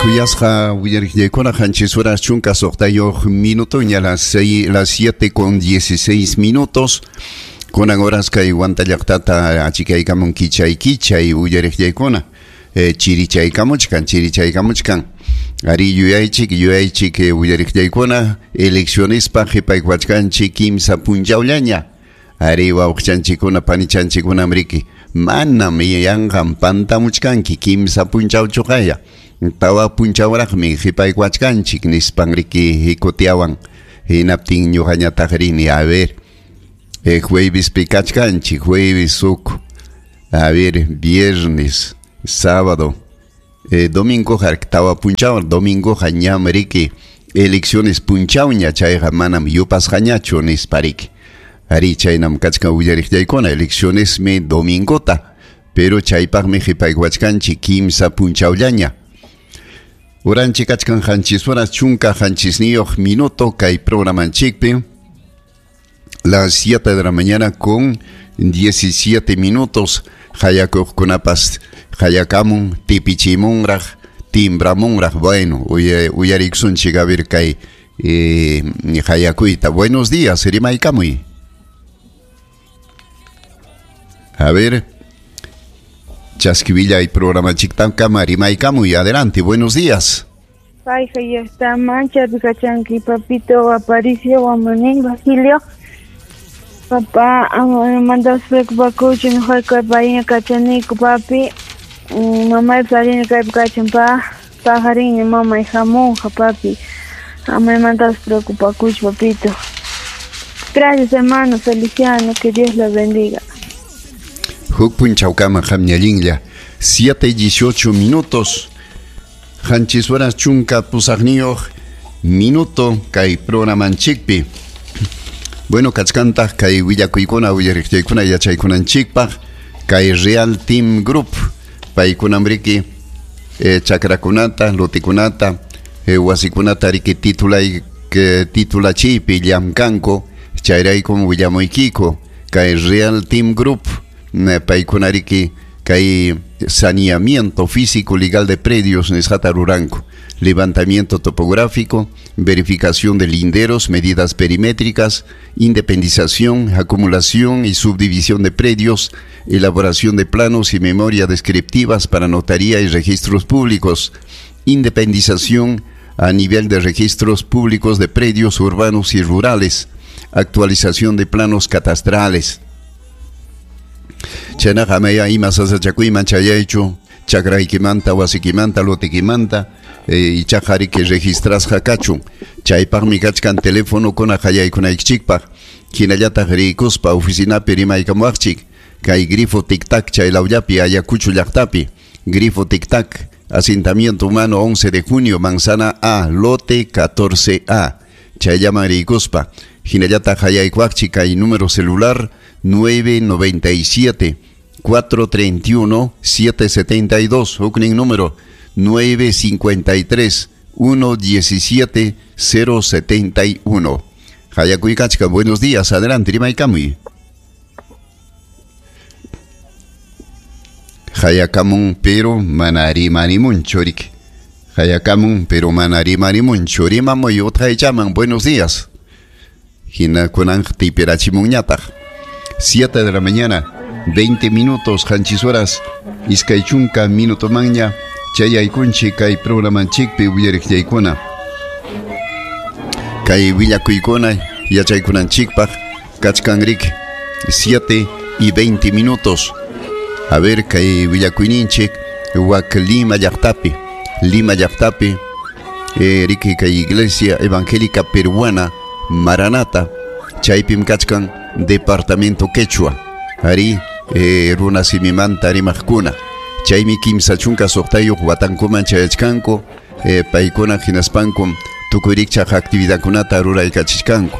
Kuyasqa uyariqllaykuna qanchis horas chunka suqtayuq minutoña, las 6, las 7:16 minutos. Kunan horas kay Huanta llaqtata achikaykamun kichay kichay uyariqllaykuna. Chirichaykamuchkan, chirichaykamuchkan. Ari yuyaychik, yuyaychik uyariqllaykuna, eleccionespa qhipaykuwachkanchik kimsa punchawllaña. Ari wawqichanchikkuna, panichanchikkunam riki. Manam yanqam pantamuchkanki kimsa punchawchuqaya. Tawa punchawraqmi qhipaykuwachkanchik nispan riki hikutiawan. Hinaptin ñuqañataq rini, a ver, jueves kachkanchik, jueves huk, a ver, viernes, sábado, domingo tawa punchaw, domingoqa ñam riki elecciones punchawña, chayqa manam yupasqañachu nispa riki. Ari chaynam kachkan uyariqllaykuna, eleccionesmi domingota, pero chaypaqmi qhipaykuwachkanchik kimsa punchawllaña. Uranchik kachkan qanchis horas chunka qanchisniyuq minuto kay programanchikpi, las 7 de la mañana con 17 minutos, hayakuqkunapas hayakamun, tipichimunraq, timbramunraq, bueno, uyariksunchik a ver kay hayakuyta. Buenos días, rimaykamuy. A ver, Chasquivilla y programa Chictancama, rimaykamuy, adelante, buenos días. Payqa ya está mancha, kachanki, papito, Aparicio, Guamanín, Basilio. Papá, mandas preocupakuchu, ñuqayku payña kachaniku, papi. Mamay sarina kaypi kachan, pa. Pajarinña mamay hamunqa, papi. Amay mandas preocupakuchu, papito. Gracias, hermano Feliciano, que Dios lo bendiga. Huk punchawkama qamñallinlla, 7:18 minutos. Qanchis horas chunka pusaqniyuq minuto kay programanchikpi. Bueno, kachkantaq kay willakuykuna, uyariqllaykuna yachaykunanchikpaq kay Real Team Group. Paykunam riki chakrakunata, lotikunata, wasikunata riki titulay, titulachiypi llamkanku, chayraykum willamuykiku kay Real Team Group. Paykuna riki kay saneamiento físico legal de predios nisqata ruranku, levantamiento topográfico, verificación de linderos, medidas perimétricas, independización, acumulación y subdivisión de predios, elaboración de planos y memoria descriptivas para notaría y registros públicos, independización a nivel de registros públicos de predios urbanos y rurales, actualización de planos catastrales. Chaynaqa amaya ima sasachakuyman chayaychu, chakraykimanta, wasikimanta, lotikimanta, ichaqa riki registrasqa kachun. Chaypaqmi kachkan telefonokuna qallaykunaykichikpaq, hinallataq rikuspa oficinapi rimaykamuwaqchik, kay grifo tic-tac chay lawllapi Ayacucho llaqtapi, grifo tic-tac, asentamiento humano 11 de junio, manzana A, lote 14A, chayllaman rikuspa, hinallataq qallaykuwaqchik kay número celular 997 431 772, huknin número 953 117 071. Hayakuykachka, buenos días, adelante, rimaykamuy. Hayakamun, pero mana rimarimunchu riki. Hayakamun, pero mana rimarimunchu. Rimamuy utqaychaman, buenos días. Hina kunan tipirachimunñataq. 7 de la mañana, 20 minutos, qanchis horas, iskay chunka minuto manña, chayaykunchik kay programanchikpi uyariqllaykuna. Kay willakuykuna yachaykunanchikpaq kachkan riki 7:20 minutos. A ver, kay willakuyninchik wak Lima llaqtapi, Lima llaqtapi, riki kay Iglesia Evangélica Peruana Maranata, chaypim kachkan Departamento Quechua, ari runa simimanta rimaqkuna. Chaymi kimsa chunka suqtayuq watankuman chayachkanku, paykuna hinaspankum tukuy rikchaq actividadkunata ruraykachichkanku.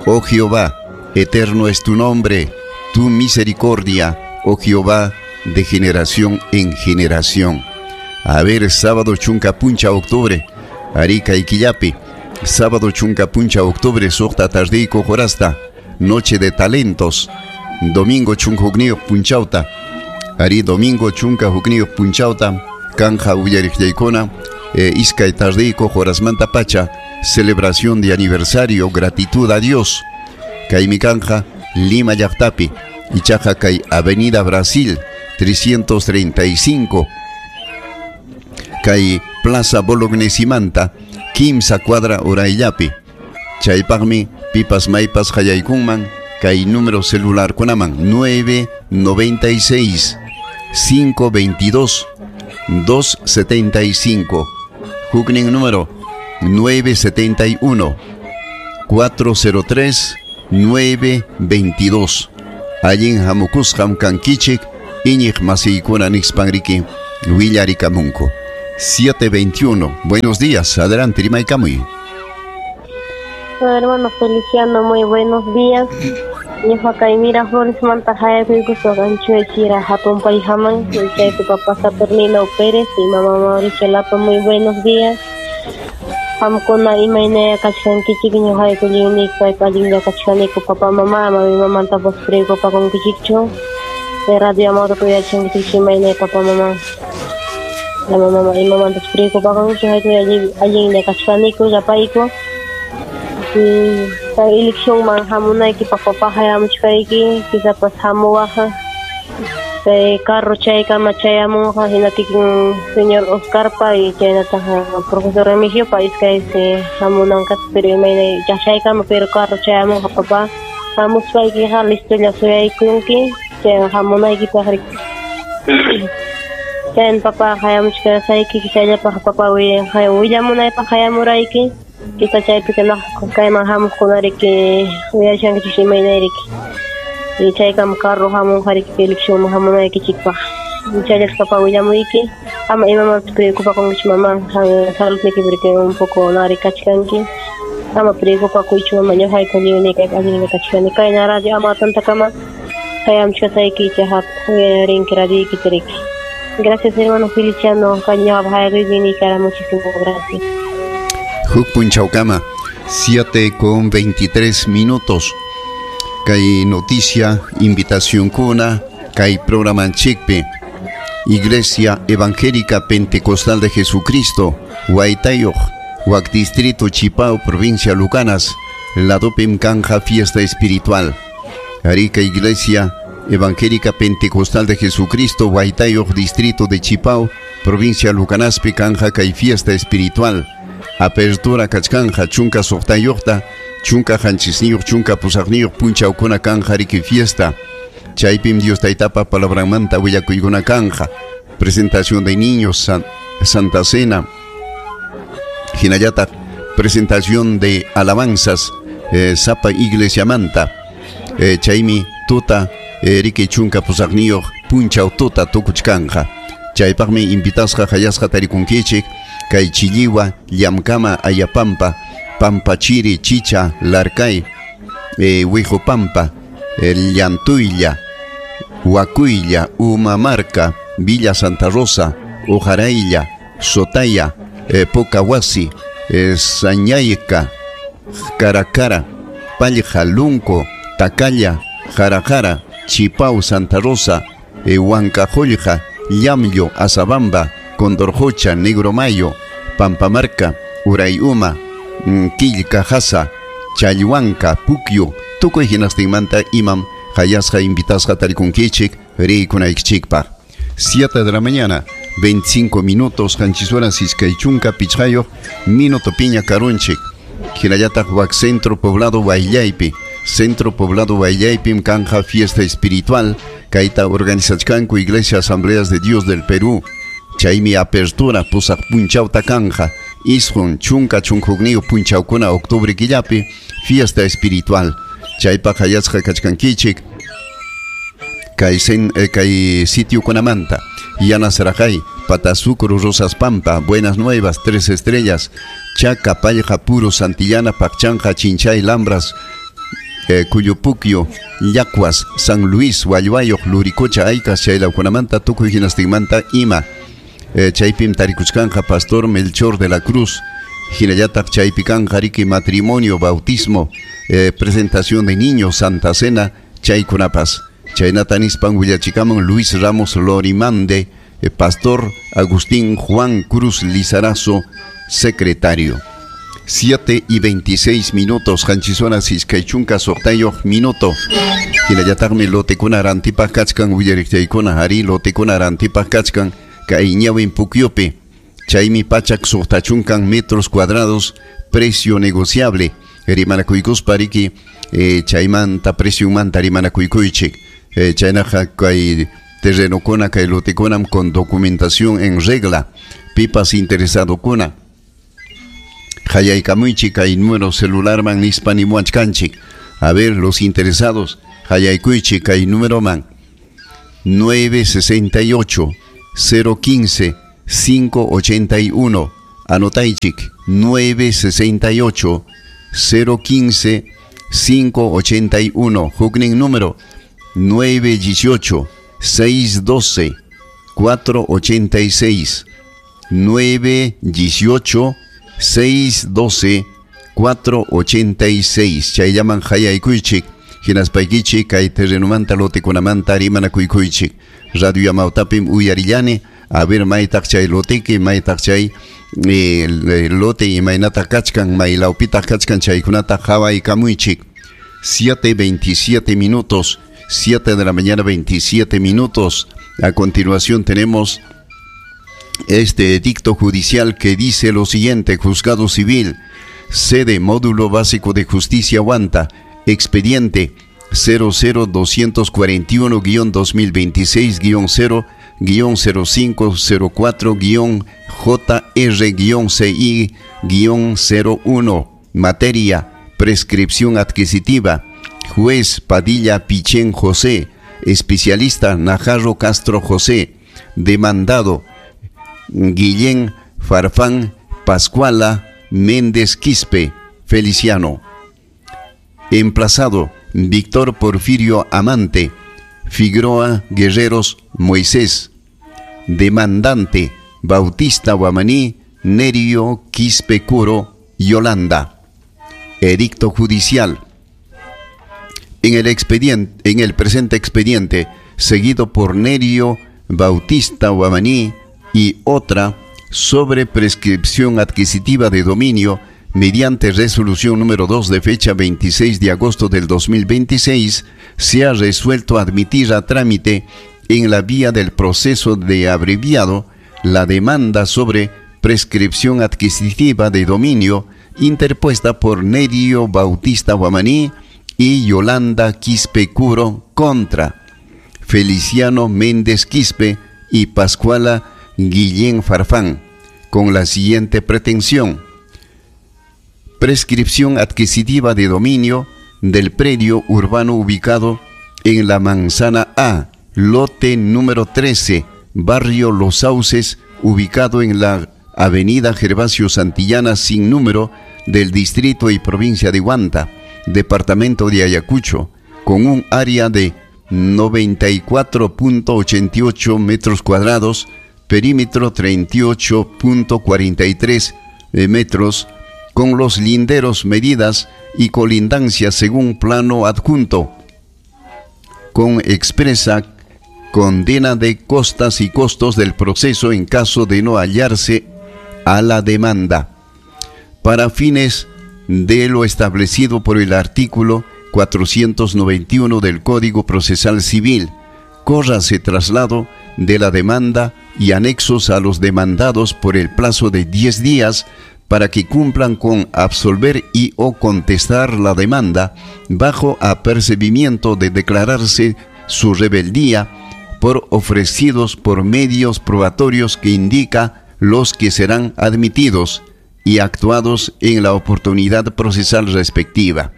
Oh Jehová, eterno es tu nombre, tu misericordia, oh Jehová, de generación en generación. A ver, sábado chunka puncha octubre, Arica y Quillapi, sábado chunka puncha octubre, suqta tardiyku horasta, noche de talentos, domingo chunka hukniyuq punchawta, ari domingo chunka hukniyuq punchawta, kanja uyariqllaykuna, Iskay tardeykuq horasmanta pacha, celebración de aniversario, gratitud a Dios. Kaymi kanja Lima llaqtapi, ichaqa kay Avenida Brasil 335, kay Plaza Bolognesimanta, kimsa cuadra urayllapi. Chaypaqmi pipas maypas qayaykunman kay número celular kunaman 996 522 275. Huknin número 971 403 922. Allin hamukusqam kankichik iñiq masiykuna nispanriki willarikamunku. 7:21. Buenos días, adelante, rimaykamuy. Hermano Feliciano, muy buenos días. Ñuqa Miraflores manta hayakuyku Ganchuechira hatun payhaman, tu papá Saturnino Pérez y mamá Mauricio Lapa, muy buenos días. Qamkuna imaynaya kachkankichik, ñuqayku lliwniku allinlla kachkaniku papá mamá, mami mamantapas preocupakunkichikchu. Radio Amor kuyachankichik imaynaya papá mamá. La mamá imamantapas preocupakunkichik, allinlla kachkaniku llapayku. Kay elección hamunayki papá hayamuchkayki, quizás hamuwaqa. Kay carro chaykama chayamunqa hinakikin señor Oscarpa y chaynataqa profesor Remigio pa iskaysi hamunanqa, pero imaynay chaykama pero carro chayamunqa papá. Hamuspaykiqa listolla suyaykunki, chay hamunaykipaq riki. Chayn papá hayamuchkasayki, chayllapaq papá willamunaypaq hayamurayki. Quizá chaypi kayman hamuqkunariki uyashankichik imaynariki. Y chaykama carro hamunqariki eleccionman hamunaykichikpaq. Chayllata papá willamuyki. Ama imamantas preocupakunkichu mamá, saludniki porque un poco nari kachkanki. Ama preocupakuychu mamá, ñuqayku lliwnika allinlla kachkani. Kayna radio ama tantakama hayamuchkasayki chaqa uyarinki radioykita riki. Gracias hermano Feliciano, kayñuqapa hayakuykinikara, muchísimas gracias. Huk punchawkama, 7:23. Kay noticia, invitación kuna, kay programanchikpi. Iglesia Evangélica Pentecostal de Jesucristo, Huaytayoj, Huac Distrito Chipao, Provincia Lucanas, Ladopim Canja, Fiesta Espiritual. Arica Iglesia Evangélica Pentecostal de Jesucristo, Huaytayoj, Distrito de Chipao, Provincia Lucanaspi, Canja, kay Fiesta Espiritual. Apertura kachkanja, chunka suqtayuqta, chunka qanchisniyuq, chunka pusaqniyuq punchawkuna kanja riki fiesta. Chaypim Dios taytapa palabramanta willakuykuna kanja. Presentación de niños, Santa Cena. Hinallataq, presentación de alabanzas, Sapa Iglesiamanta. Chaymi tuta, riki chunka pusaqniyuq punchaw tuta tukuchkanja. Chaypaqmi invitasqa hayasqa tarikunkichik. Kay Chilliwa, Llamkama, Ayapampa, Pampachiri, Chicha, Larcay, Huijopampa, Llantuylla, Huacuylla, Umamarca, Villa Santa Rosa, Ojaraylla, Sotaya, Pocahuasi, Sañayca, Caracara, Palja, Lunco, Tacalla, Jarajara, Chipau, Santa Rosa, Huancajollja, Llamllo, Azabamba, Condorjocha, Negro Mayo, Pampamarca, Urayuma, Quillcajasa, Chalhuanca, Puquio, tukuy hinastinmanta imam hayasqa invitasqa tarikunkichik rikunaykichikpaq. 7 de la mañana, 25 minutos, qanchis horas iskay chunka pichqayuq minuto piña karunchik. Hinallataq wak Centro Poblado Huayllaypi, Centro Poblado Huayllaypim kanja fiesta espiritual, kayta organizachkanku Iglesia Asambleas de Dios del Perú. Chaymi apertura pusaq punchawta kanja, isqun chunka chunhukniyuq punchawkuna octubre killapi, fiesta espiritual. Chaypaq hayasqa kachkankichik kay sitio kunamanta, Yanasrajay, Patasucro, Rosas Pampa, Buenas Nuevas, Tres Estrellas, Chaca, Palja, Puro, Santillana, Pacchanja, Chinchay, Lambras, Cuyupuquio, Yacuas, San Luis, Huayhuayoq, Luricocha, Aycas, chaylawkunamanta, tukuy hinastinmanta ima. Chaypim tarikuchkanja Pastor Melchor de la Cruz, hinallataq chaypi kanja riki matrimonio, bautismo, presentación de niños, Santa Cena, chaykunapas. Chaynata nispan willachikaman Luis Ramos Lorimande, Pastor Agustín Juan Cruz Lizarazo, secretario. 7 y 26 minutos, qanchis horas iskay chunka suqtayuq minuto. Hinallataqmi lotekuna rantipaq kachkan, willariqchaykuna, arí, lotekuna rantipaq kachkan kay ñawin pukyupi. Chaymi 160 metros cuadrados, precio negociable. Rimanakuykuspa riki chaymanta preciomanta rimanakuykuychik. Chaynaqa kay terrenokuna, kay lotekunam con documentación en regla. Pipas interesadokuna, hayaykamuychik kay número celularman nispa nimuachkanchik. A ver, los interesados, hayaykuychik kay número man 968 015 581. Anotaychik 968 015 581. Huknin número 918 612 486. 918 612 486. Chayllaman hayaykuychik hinaspaykichik kay terrenomanta, lotekunamanta rimanakuykuychik. Radio Amawtapim uyarillani, a ver, maytaq chay loteki, maytaq chay lote, imaynataq kachkan, maylawpitaq kachkan, chaykunata qhawaykamuychik. 7:27 minutos, 7 de la mañana 27 minutos. A continuación tenemos este edicto judicial que dice lo siguiente: Juzgado Civil, sede Módulo Básico de Justicia Huanta, expediente 00241-2026-0-0504-JR-CI-01, materia, prescripción adquisitiva, juez Padilla Pichén José, especialista Najarro Castro José, demandado Guillén Farfán Pascuala Méndez Quispe Feliciano. Emplazado Víctor Porfirio Amante Figueroa Guerreros Moisés. Demandante Bautista Guamaní Nerio Quispe Curo Yolanda. Edicto judicial. En el expediente, en el presente expediente, seguido por Nerio Bautista Guamaní y otra sobre prescripción adquisitiva de dominio, mediante resolución número 2 de fecha 26 de agosto del 2026, se ha resuelto admitir a trámite en la vía del proceso de abreviado la demanda sobre prescripción adquisitiva de dominio interpuesta por Nerio Bautista Guamaní y Yolanda Quispe Curo contra Feliciano Méndez Quispe y Pascuala Guillén Farfán, con la siguiente pretensión: prescripción adquisitiva de dominio del predio urbano ubicado en la manzana A, lote número 13, barrio Los Sauces, ubicado en la avenida Gervasio Santillana sin número del distrito y provincia de Huanta, departamento de Ayacucho, con un área de 94.88 metros cuadrados, perímetro 38.43 metros, con los linderos, medidas y colindancias según plano adjunto, con expresa condena de costas y costos del proceso en caso de no hallarse a la demanda. Para fines de lo establecido por el artículo 491 del Código Procesal Civil, córrase traslado de la demanda y anexos a los demandados por el plazo de 10 días para que cumplan con absolver y o contestar la demanda bajo apercibimiento de declararse su rebeldía por ofrecidos por medios probatorios que indica los que serán admitidos y actuados en la oportunidad procesal respectiva.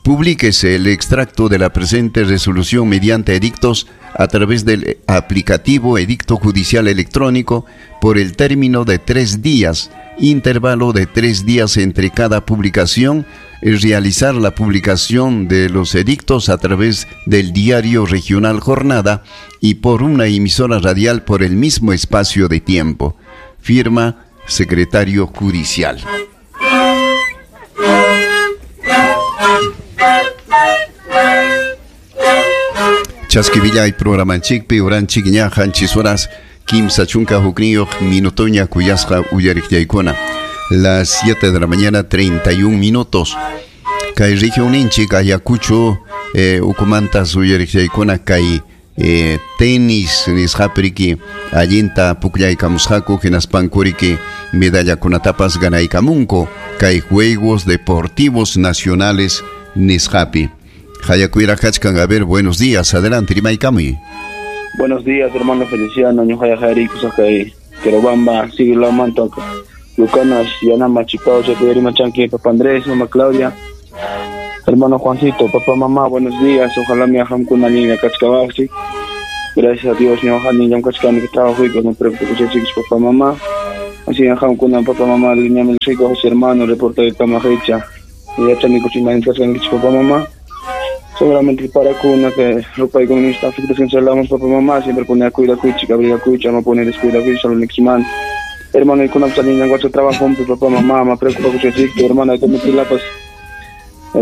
Publíquese el extracto de la presente resolución mediante edictos a través del aplicativo Edicto Judicial Electrónico por el término de 3 días, intervalo de 3 días entre cada publicación, y realizar la publicación de los edictos a través del diario regional Jornada y por una emisora radial por el mismo espacio de tiempo. Firma secretario judicial. Chaski villay programanchikpi uranchik ña qanchis horas 30 minutoña kuyasqa uyariqllaykuna. Las 7 de la mañana 31 minutos. Kay regionninchik Ayacucho ukumantas uyariqllaykuna kay tenis nisqapi allinta pukllaykamusqaku hinaspankuriki medallakunatapas ganaykamunku kay Juegos Deportivos Nacionales nisqapi. Hayakuira kachkan, a ver, buenos días, adelante, rimaykamuy. Buenos días, hermano Feliciano, ñuqaya Jarico, Sakay, Querobamba, sigue la manto, Lucanas, Yanama, Chicao, Chacuyari, Papá Andrés, Mamá Claudia, hermano Juancito, papá, mamá, buenos días, ojalá me hagan con una niña cachcabaxi. Gracias a Dios, ñuqa niña cachcani que trabajo y no preocupo, papá, mamá. Así hagan con una papá, mamá, niña, me chico, José, hermano, reporte de Camajecha. Y ya chani cochina, papá, mamá. Seguramente para cuna que ropa y con esta afectación hablamos papá mamá siempre pone a cuida cuichi abriga cuicha no pone descuida cuicha lo nexman hermano y con una niña guacho trabajo papá mamá me preocupa que se hermano como tilapas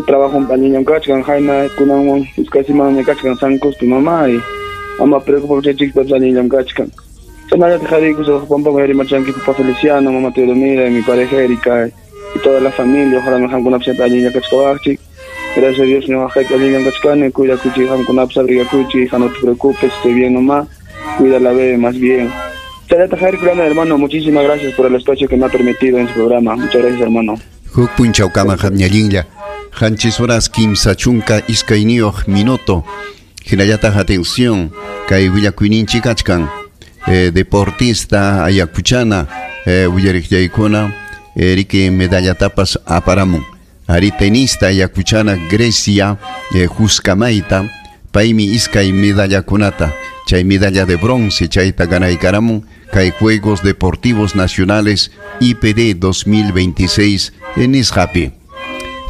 trabajo un niña cachcan jaina kunan casi mamá cachcan sancos tu mamá y ama preocupa que se papá niña cachcan sonaya te jarico so papá mamá machanqui papá Feliciano mamá Teodomira y mi pareja Erika y toda la familia ojalá me con una siempre niña cachcabachi. Gracias a Dios, no cuida cuchi, hija, no te preocupes, estoy bien nomás, cuida la bebé más bien. Hermano, muchísimas gracias por el espacio que me ha permitido en su programa. Muchas gracias, hermano. Huk punchawkama hamñallinlla, qanchis horas kimsa chunka iskayniyuq minuto. Hinallataq atención, kay willakuyninchik kachkan, deportista Ayacuchana, willariqllaykuna, riki medallatapas aparamun. Ari tenista Ayacuchana Grecia Juscamaita, paymi iskay medallakunata, chay medalla de bronce chayta ganaykaramun kay Juegos Deportivos Nacionales IPD 2026 en nisqapi.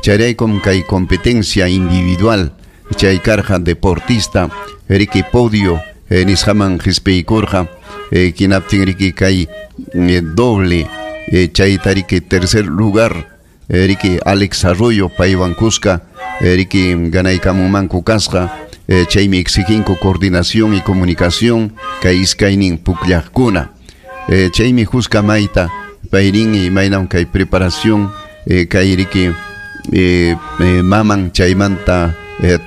Chayraykum kay competencia individual chay karqa deportista riki podio nisqaman qispiykurqa hinaptin riki kay doble chayta riki tercer lugar riki Alex Arroyo paywan kuska riki ganaykamunmanku kasqa chaymi exiginku coordinación y comunicación kay iskaynin pukllaqkuna chaymi Juscamaita payrin imaynam kay preparación kay riki maman chaymanta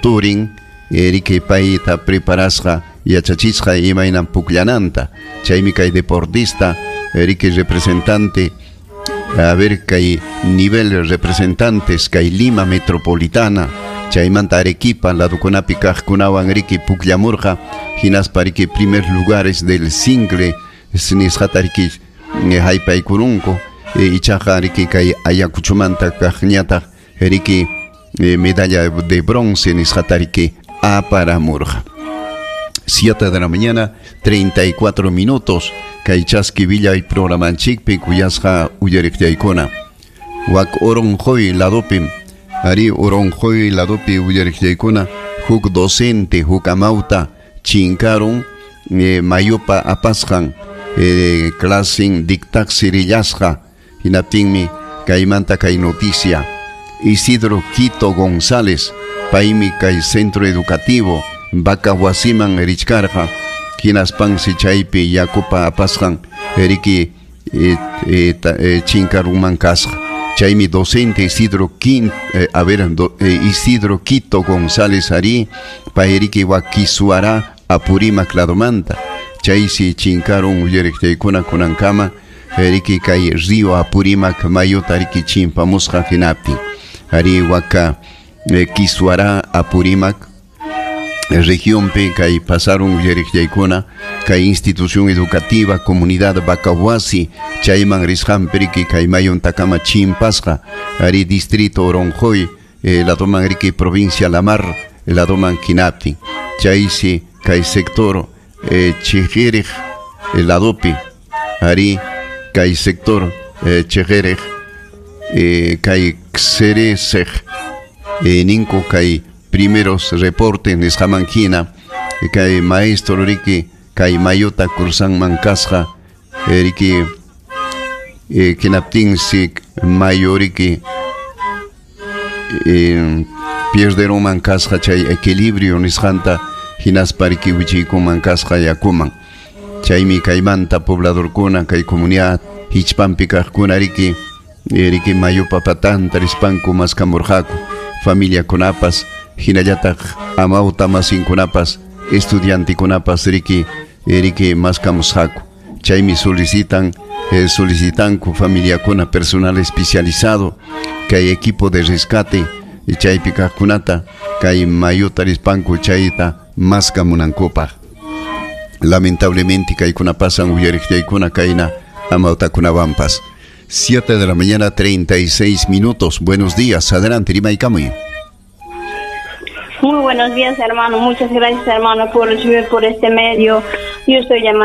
turin riki payta preparasqa yachachisqa imaynam pukllananta chaymi kay deportista riki representante a ver kay nivel representantes kay Lima Metropolitana chaymanta Arequipa ladukunapi kaqkunawan riki pukllamurqa hinaspa riki primer lugares del single nisqata riki haypaykurunku ichaqa riki kay Ayacuchomanta kaqñataq riki medalla de bronce nisqata riki aparamurqa. 7 de la mañana 34 minutos kay chaski villay programanchikpi kuyasqa uyariqllaykuna wak Oronjoy ladopi ari Oronjoy ladopi uyariqllaykuna huk docente huk amauta chinkarun mayupa apasqan clasin dictaxi rillasqa hinaptinmi kaymanta kay noticia Isidro Quito González paymi kay centro educativo Vaca wasiman richkarqa hinaspansi chaypi yakupa apasqan riki chinkarunman kasqa chaymi docente Isidro Isidro Quito González ari pay riki Wakisuara Apurímac ladomanta chaysi chinkarun uyariqllaykuna kunankama riki kay río Apurímac mayuta riki chimpamusqa hinaptin ari waka Kisuara Apurímac región pe kay pasaron uyariqllaykuna kay institución educativa comunidad Bacahuasi chayman risqanpi riki kay mayuntakama chimpasqa ari distrito Oronjoy ladoman riki provincia Lamar ladoman hinaptin chaysi kay sector Chejeriq ladopi ari kay sector Chejeriq kay Xeresej ninku kay primeros reportes nisqaman hina kay maestro riki kay mayuta cursanman kasqa riki hinaptinsi mayo riki pierderuman kasqa chay equilibrio nisqanta hinaspa riki wichiykuman kasqa yakuman Chaymi kaymanta pobladorkuna kay comunidad hichpanpi kaqkuna riki riki mayupa patanta rispanku maskamurqaku familiakunapas hinallataq amawta masinkunapas estudiantikunapas riki riki maskamusqaku. Chaymi solicitan solicitanku familiakuna personal especializado kay equipo de rescate chaypi kaqkunata kay mayuta rispanku chayta maskamunankupaq. Lamentablemente kaykuna pasan uyariqllaykuna kayna amawtakunawanpas. 7 de la mañana, 36 minutos. Buenos días. Adelante, Rimaykamuy. Muy buenos días, hermano. Muchas gracias, hermano, por recibir por este medio. Yo estoy llamando